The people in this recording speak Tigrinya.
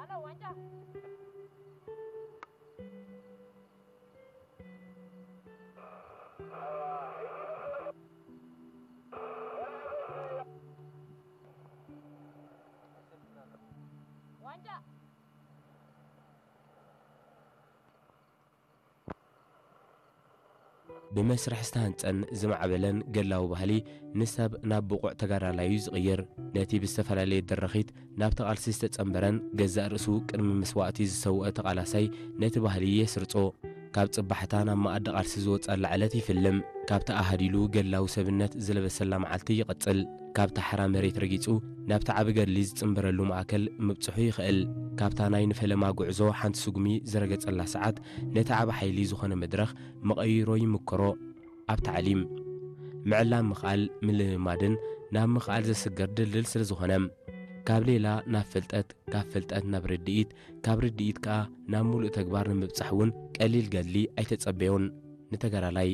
ሃሎ ዋንጫ። ዋንጫ። ብመስርሕ ዝተሃንጸን ዝማዕበለን ገላዊ ባህሊ ንሰብ ናብ ብቑዕ ተጋዳላዩ ዝቕይር፣ ነቲ ብዝተፈላለየ ድርኺት ናብቲ ቃልሲ ዝተጸንበረን ገዛእ ርእሱ ቅድሚ መስዋእቲ ዝሰውአ ተቓላሳይ ነቲ ባህሊ የስርጾ። ካብ ጽባሕታ ናብ መኣዲ ቃልሲ ዝወጸላ ዕለት ይፍልም። ካብቲ ኣሃዲሉ ገላዊ ሰብነት ዝለበሰላ መዓልቲ ይቐጽል። ካብታ ሓራ መሬት ረጊጹ ናብቲ ዓቢ ገድሊ ዝጽንበረሉ ማእከል ምብጽሑ ይኽእል። ካብታ ናይ ንፈለማ ጉዕዞ ሓንቲ ስጉሚ ዝረገጸላ ሰዓት ነቲ ዓቢ ሓይሊ ዝኾነ መድረኽ መቐይሮ ይምክሮ። ኣብ ታዕሊም ምዕላም ምኽኣል ምልምማድን ናብ ምኽኣል ዘስግር ድልድል ስለ ዝኾነ፣ ካብ ሌላ ናብ ፍልጠት፣ ካብ ፍልጠት ናብ ርድኢት፣ ካብ ርድኢት ከኣ ናብ ምሉእ ተግባር ንምብጻሕ እውን ቀሊል ገድሊ ኣይተጸበዮን ንተጋዳላይ።